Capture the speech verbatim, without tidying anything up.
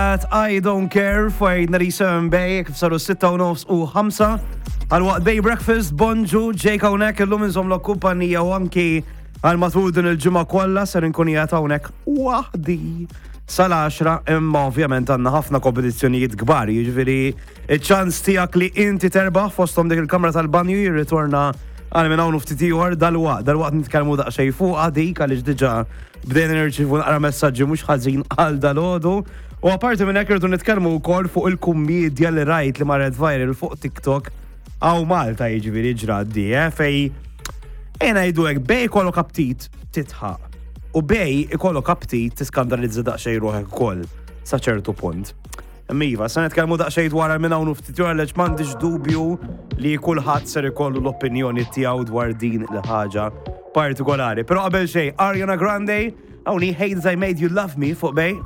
I Don't Care fuq ninety-seven Bay, kif saru sitta u nofs u ħamsa. Għal waqt Bay Breakfast, bonġu, Jake hawnhekk illum inżommlok kumpanija u anki għal matul din il-ġimgħa kollha ser inkun qiegħed hawnhekk waħdi sal-għaxra, imma ovvjament għandna ħafna kompetizzjonijiet kbar, jiġifieri iċ-ċans tiegħek li inti terbaħ fosthom dik il-kamra tal-banju jirritorna għal minn hawn ftit ieħor dal-waqt, dal-waqt nitkellmu daqsxejn fuq dik għaliex diġà bdejna nirċievu naqra messaġġi mhux ħażin għal dalgħodu. U apparti minn hekk irridu nitkellmu wkoll fuq il-kummedja li rajt li marret viral fuq TikTok hawn Malta, jiġifieri ġrat di, eh, fej ejja ngħidu hekk, bejn ikollok aptit tidħaq u bejn ikollok aptit tiskandalizza daqsxejn ruħek ukoll sa ċertu punt. Imma iva, se nitkellmu daqsxejn dwar minn hawn ftit ieħor għaliex m'għandix dubju li kulħadd ser ikollu l-opinjoni tiegħu dwar din il-ħaġa partikolari. Però qabel xejn, Ariana Grande, hawn Hate I Made You Love Me fuq Bay.